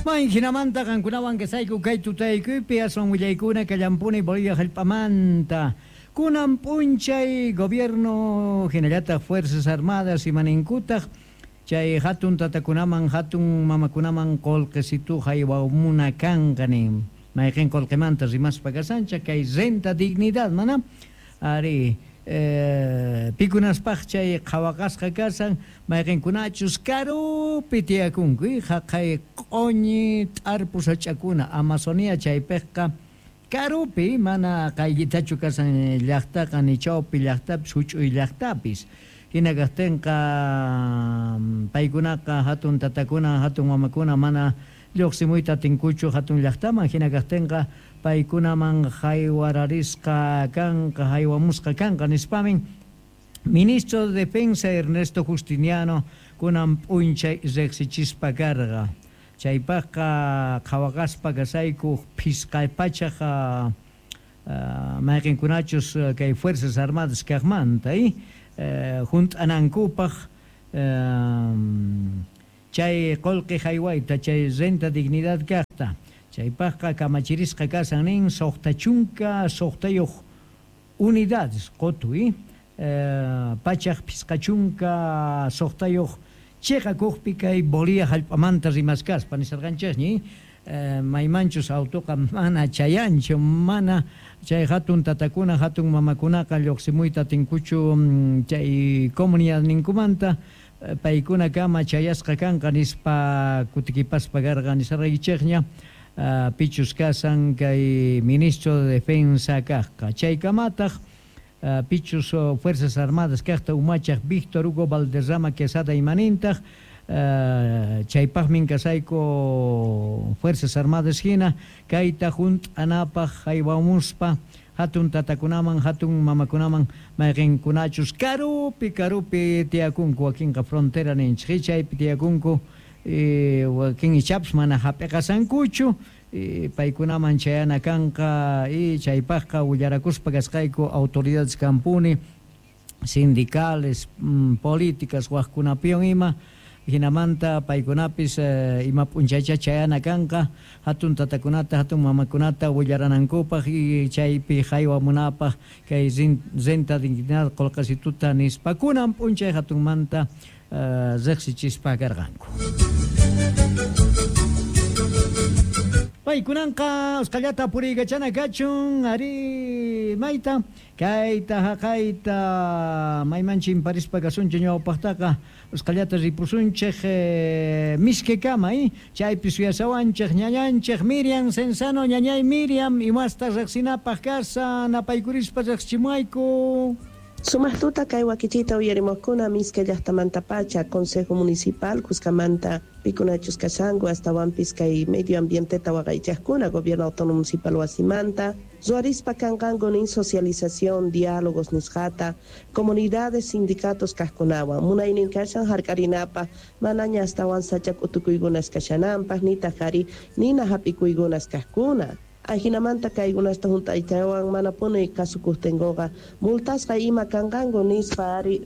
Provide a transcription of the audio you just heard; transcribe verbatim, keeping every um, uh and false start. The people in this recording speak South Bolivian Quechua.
May hinamanta qankunawan kasayku kay tutaykuypi aswan willaykuna kallampuni Bolivia hallp'amanta. Kunan p'unchay gobierno hinallataq Fuerzas Armadas imaninkutaq chay hatun tatakunaman hatun mamakunaman qullqisitu haywamuna kanqa nin. Mayqin qullqimanta rimaspa kasanchik kay renta dignidad mana ari eh, pikunaspaq chay qhawaqasqa kasan mayqinkunachus karupi tiyakunku haqay q'uñi t'arpu sach'akuna Amazonia chaypiqqa karupi mana qayllitachu kasan llaqtaqa ni chawpi llaqtapis huch'uy llaqtapis hina kaqtinqa paykunaqa hatun tatakuna hatun mamakuna mana lluqsimuyta atinkuchu hatun llaqtaman hina kaqtinqa paykunaman haywararisqa kanqa haywamusqa kanqa nispamin Ministro de Defensa Ernesto Justiniano kunan p'unchay riqsichispa karqa chaypaqqa qhawaqaspa kasayku phisqa pachaq mayqinkunachus kay Fuerzas Armadas kaqmanta hunt'anankupaq chay qullqi haywayta chay renta dignidad kaqta chaypaqqa kamachirisqa kasan nin suqta chunka suqtayuq unidades qutuy pachaq phisqa chunka suqtayuq chiqakuqpi kay Bolivia hallp'amanta rimaskaspa nisarqanchikñi maymanchus autoqa mana chayanchu mana chay hatun tatakuna hatun mamakunaqa lluqsimuyta atinkuchu chay comunidadninkumanta paykuna kama chayasqa kanqa nispa kutikipaspa karqa nisarqaykichikña pichus kasan kay ministro de Defensa kaqqa chaykamataq pichus Fuerzas Armadas kaqta umachaq Víctor Hugo Valderrama Quesada imanintaq chaypaqmin kasayku Fuerzas Armadas hina kayta hunt'anapaq haywamuspa hatun tatakunaman hatun mamakunaman mayqinkunachus karupi karupi tiyakunku wakinqa frontera ninchik chaypi tiyakunku wakin ichapas mana hap'iqasankuchu paykunaman chayana kanqa y chaypaqqa willarakuspa kasqayku autoridades kampuni sindicales políticas waqkunapiwan ima hinamanta paykunapis ima p'unchaycha chayana kanqa hatun tatakunata hatun mamakunata willaranankupaq y chaypi haywamunapaq kay renta dignidad qullqasituta nispa kunan p'unchay hatunmanta riqsichispa karqanku. Paykunanqa usqallata puriykachana kachun ari mayta kayta haqayta mayman chimparispa kasunchik ñawpaqtaqa usqallata ripusunchik miskikama chaypi suyasawanchik ñañanchik Miriam Cenzano ñañay Miriam imasta riqsinapaq kasan napaykurispa riqsichimuayku. Sumaqtuta kay wakichita uyarimuqkuna miska llaqtamantapacha Consejo Municipal Cuscamanta pikunachus kashanku astawanpis kay medio ambienteta waqaychaqkuna Gobierno Autónomo Municipal wasimanta ruwarispa kanqanku nin socialización diálogos nisqata comunidades sindicatos kaqkunawan munaynin kashan hark'arinapaq manaña astawan sacha k'utukuykunas kashananpaq nitaq ari nina hap'ikuykunas kaqkuna. Ajinamanta kaykunasta hunt'aytawan manapuni kasukuqtinkuqa multasqa ima kanqanku nispa ari.